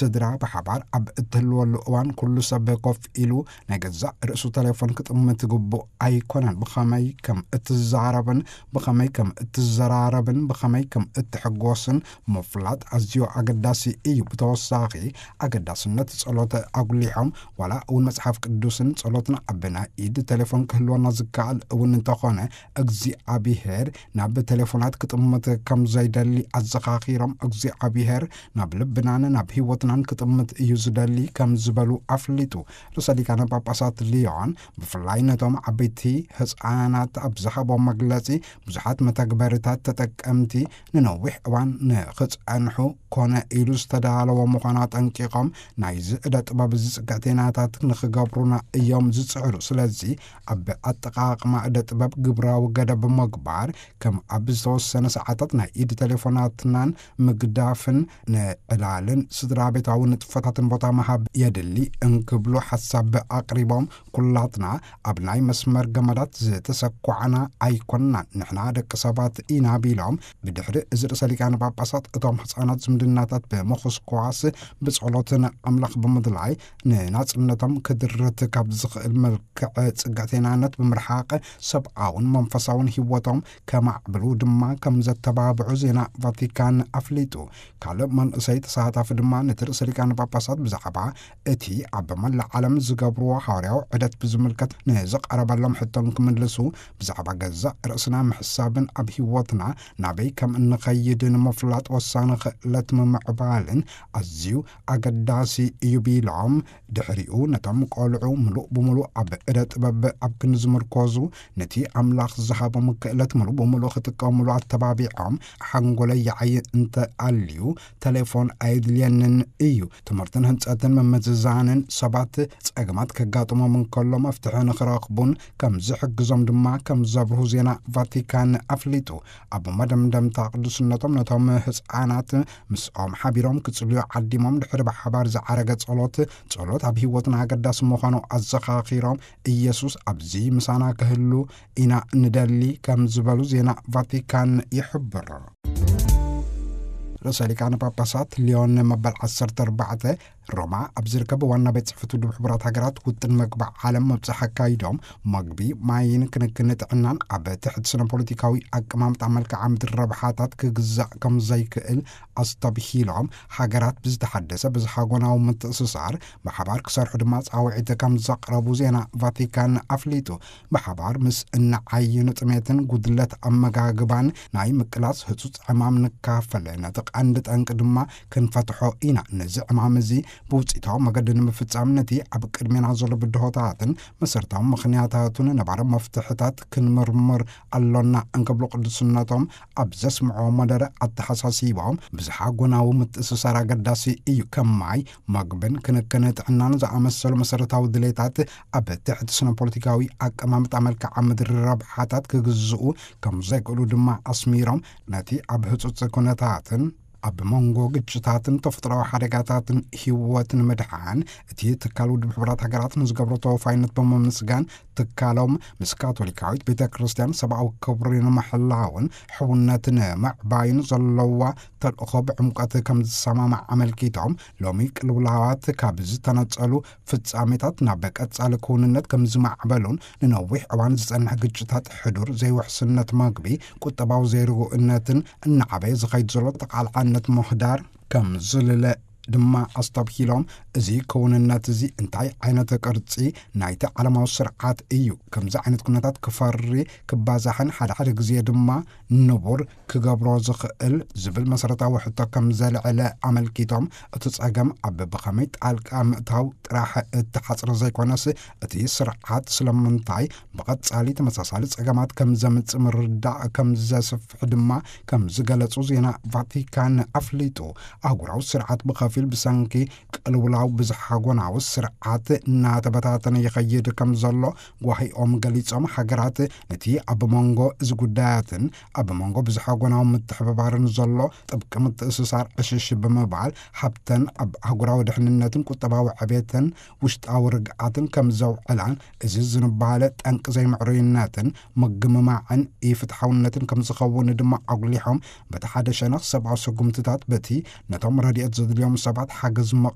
ስድራ ብሓባር ኣብ እትህልወሉ እዋን፣ ኩሉ ሰብ ኮፍ ኢሉ ናይ ገዛእ ርእሱ ቴሌፎን ክጥምት ግቡእ ኣይኮነን። ብኸመይ ከም እትዛረብን ብኸመይ ከም እትዘራረብን ብኸመይ ከም እትሕጎስን ምፍላጥ ኣዝዩ ኣገዳሲ እዩ። ብተወሳኺ፣ ኣገዳስነት ጸሎት ኣጉሊሖም፣ ዋላ እውን መጽሓፍ ቅዱስን ጸሎትን ኣብ ናይ ኢድ ቴሌፎን ክህልወና ዝከኣል እውን እንተኾነ፣ እግዚኣብሔር ናብ ቴሌፎናት ክጥምት ከም ዘይደሊ ኣዘኻኺሮም፣ እግዚኣብሔር ናብ ልብናን ናብ ህይወትናን ክጥምት እዩ ዝደሊ ከም ዝበሉ ኣፍሊጡ። ርእሰ ሊቃነ ጳጳሳት ሊዮን ብፍላይ ነቶም ዓበይቲ ህፃናት ኣብ ዝሃቦም መግለጺ፣ ብዙሓት መተግበሪታት ተጠቀምቲ ንነዊሕ እዋን ንኽጸንሑ ኮነ ኢሉ ዝተዳለወ ምዃኑ ኣጠንቂቖም፣ ናይዚ እደ ጥበብ እዚ ጽግዕተይናታት ንኽገብሩና እዮም ዝጽዕሩ። ስለዚ ኣብ ኣጠቓቕማ እደ ጥበብ ግብራዊ ገደብ ምግባር፣ ከም ኣብ ዝተወሰነ ሰዓታት ናይ ኢድ ቴሌፎናትናን ምግዳፍን፣ ንዕላልን ስድራ ቤታዊ ንጥፈታትን ቦታ ምሃብ የድሊ እንክብሉ ሓሳብ ኣቕሪቦም፣ ኩላትና ኣብ ናይ መስመር ገመዳት ዝተሰኳዕና ኣይኮንናን፣ ንሕና ደቂ ሰባት ኢና ቢሎም፣ ብድሕሪ እዚ ርእሰ ሊቃነ ጳጳሳት እቶም ህፃናት ዝምድናታት ብምኹስኳስ ብጸሎት ንኣምላኽ ብምድላይ ንናጽነቶም ክድርት ካብ ዝኽእል መልክዕ ጽግዕተይናነት ብምርሓቕ ሰብኣውን መንፈሳውን ህይወቶም ከማዕብሉ ድማ ከም ዘተባብዑ ዜና ቫቲካን ኣፍሊጡ። ካልእ መንእሰይ ተሳታፊ ድማ ነቲ ርእሰ ሊቃነ ጳጳሳት ብዛዕባ እቲ ኣብ መላእ ዓለም ዝገብርዎ ሃዋርያዊ ዑደት ብዝምልከት ንዝቐረበሎም ሕቶን ክምልሱ፣ ብዛዕባ ገዛእ ርእስና ምሕሳብን ኣብ ህይወትና ናበይ ከም እንኸይድ ንምፍላጥ ወሳኒ ክእለት ምምዕባልን ኣዝዩ ኣገዳሲ እዩ ቢሎም፣ ድሕሪኡ ነቶም ቆልዑ ምሉእ ብምሉእ ኣብ እደ ጥበብ ኣብ ክንዲ ዝምርኮዙ፣ ነቲ ኣምላኽ ዝሃቦም ክእለት ምሉእ ብምሉእ ክጥቀሙሉ ኣተባቢዖም፣ ሓንጎለይ ይዓዪ እንተ ኣልዩ፣ ቴሌፎን ኣየድልየንን እዩ። ትምህርትን ህንጸትን ምምዝዛንን ሰባት ጸገማት ከጋጥሞም እንከሎ መፍትሒ ንኽረኽቡን ከም ዝሕግዞም ድማ ከም ዘብርሁ ዜና ቫቲካን ኣፍሊጡ። ኣብ መደምደምታ ቅዱስነቶም ነቶም ህፃናት ምስኦም ሓቢሮም ክጽልዩ ዓዲሞም፣ ድሕሪ ብሓባር ዝዓረገ ጸሎት፣ ጸሎት ኣብ ህይወትና ኣገዳሲ ምዃኑ ኣዘኻኺሮም፣ ኢየሱስ ኣብዚ ምሳና ክህሉ ኢና ንደሊ ከም ዝበሉ ዜና ቫቲካን ይሕብር። ርእሰ ሊቃነ ጳጳሳት ሊዮን መበል ዓሰርተ ኣርባዕተ ሮማ ኣብ ዝርከብ ዋና ቤት ጽሕፈት ውድብ ሕቡራት ሃገራት ውጥን መግቢ ዓለም መብጽሕ ኣካይዶም፣ መግቢ፣ ማይን ክንክን ጥዕናን ኣብ ትሕቲ ስነ ፖለቲካዊ ኣቀማምጣ መልክዓ ምድሪ ረብሓታት ክግዛእ ከም ዘይክእል ኣስተብሂሎም፣ ሃገራት ብዝተሓደሰ ብዝሃጎናዊ ምትእስሳር ብሓባር ክሰርሑ ድማ ጻውዒት ከም ዘቕረቡ ዜና ቫቲካን ኣፍሊጡ። ብሓባር ምስ እንዓይኑ ጥሜትን ጉድለት ኣመጋግባን ናይ ምቅላስ ህጹጽ ዕማም ንካፈል፣ ነቲ ቀንዲ ጠንቂ ድማ ክንፈትሖ ኢና። ነዚ ዕማም እዚ ብውጽኢታዊ መገዲ ንምፍጻም፣ ነቲ ኣብ ቅድሜና ዘሎ ብድሆታትን መሰረታዊ ምኽንያታቱን ነባሪ መፍትሕታት ክንምርምር ኣሎና እንክብሉ ቅዱስነቶም ኣብ ዘስምዕዎ መደረ ኣተሓሳሲቦም፣ ብዝሓ ጎናዊ ምትእስሳር ኣገዳሲ እዩ። ከም ማይ፣ መግብን ክንክን ጥዕናን ዝኣመሰሉ መሰረታዊ ድሌታት ኣብ ትሕቲ ስነ ፖለቲካዊ ኣቀማምጣ መልክዓ ምድሪ ረብሓታት ክግዝኡ ከም ዘይክእሉ ድማ ኣስሚሮም፣ ነቲ ኣብ ህጹጽ ኩነታትን ኣብ መንጎ ግጭታትን ተፈጥሮኣዊ ሓደጋታትን ህይወት ንምድሓን እቲ ትካል ውድብ ሕቡራት ሃገራት ንዝገብሮ ተወፋይነት ብምምስጋን፣ ትካሎም ምስ ካቶሊካዊት ቤተ ክርስቲያን ሰብኣዊ ክብሪ ንምሕላውን ሕውነት ንምዕባይን ዘለዋ ተልእኾ ብዕምቀት ከም ዝሰማማዕ ኣመልኪቶም፣ ሎሚ ቅልውላዋት ካብ ዝተነጸሉ ፍጻሜታት ናብ ቀጻሊ ክውንነት ከም ዝማዕበሉን፣ ንነዊሕ እዋን ዝጸንሕ ግጭታት፣ ሕዱር ዘይውሕስነት መግቢ፣ ቁጠባዊ ዘይርጉእነትን እናዓበየ ዝኸይድ ዘሎ ተቓላዕነት ምህዳር ከም ዝልለ ድማ ኣስተብሂሎም፣ እዚ ክውንነት እዚ እንታይ ዓይነት ቅርጺ ናይቲ ዓለማዊ ስርዓት እዩ? ከምዚ ዓይነት ኩነታት ክፈሪ፣ ክባዛሕን ሓደ ሓደ ግዜ ድማ ንቡር ክገብሮ ዝኽእል ዝብል መሰረታዊ ሕቶ ከም ዘልዕለ ኣመልኪቶም፣ እቲ ጸገም ኣብ ብኸመይ ጣልቃ ምእታው ጥራሕ እተሓጽረ ዘይኮነስ፣ እቲ ስርዓት ስለምንታይ ብቐጻሊ ተመሳሳሊ ጸገማት ከም ዘምጽእ ምርዳእ ከም ዘስፍሕ ድማ ከም ዝገለጹ ዜና ቫቲካን ኣፍሊጡ። ኣህጉራዊ ስርዓት ብኸፊል ብሰንኪ ቅልውላው ብዝሓጎናዊ ስርዓት እናተበታተነ ይኸይድ ከም ዘሎ ጓሂኦም ገሊጾም፣ ሃገራት ነቲ ኣብ መንጎ እዚ ጉዳያትን ኣብ መንጎ ብዝሓጎናዊ ምትሕብባርን ዘሎ ጥብቂ ምትእስሳር ዕሽሽ ብምባል፣ ሃብተን ኣብ ኣህጉራዊ ድሕንነትን ቁጠባዊ ዕቤትን ውሽጣዊ ርግኣትን ከም ዘውዕላን፣ እዚ ዝንባለ ጠንቂ ዘይምዕሩይነትን ምግምማዕን ኢፍትሓውነትን ከም ዝኸውን ድማ ኣጉሊሖም፣ በቲ ሓደ ሸነኽ ሰብኣዊ ስጉምትታት በቲ ነቶም ረድኤት ዘድልዮም ሰባት ሓገዝ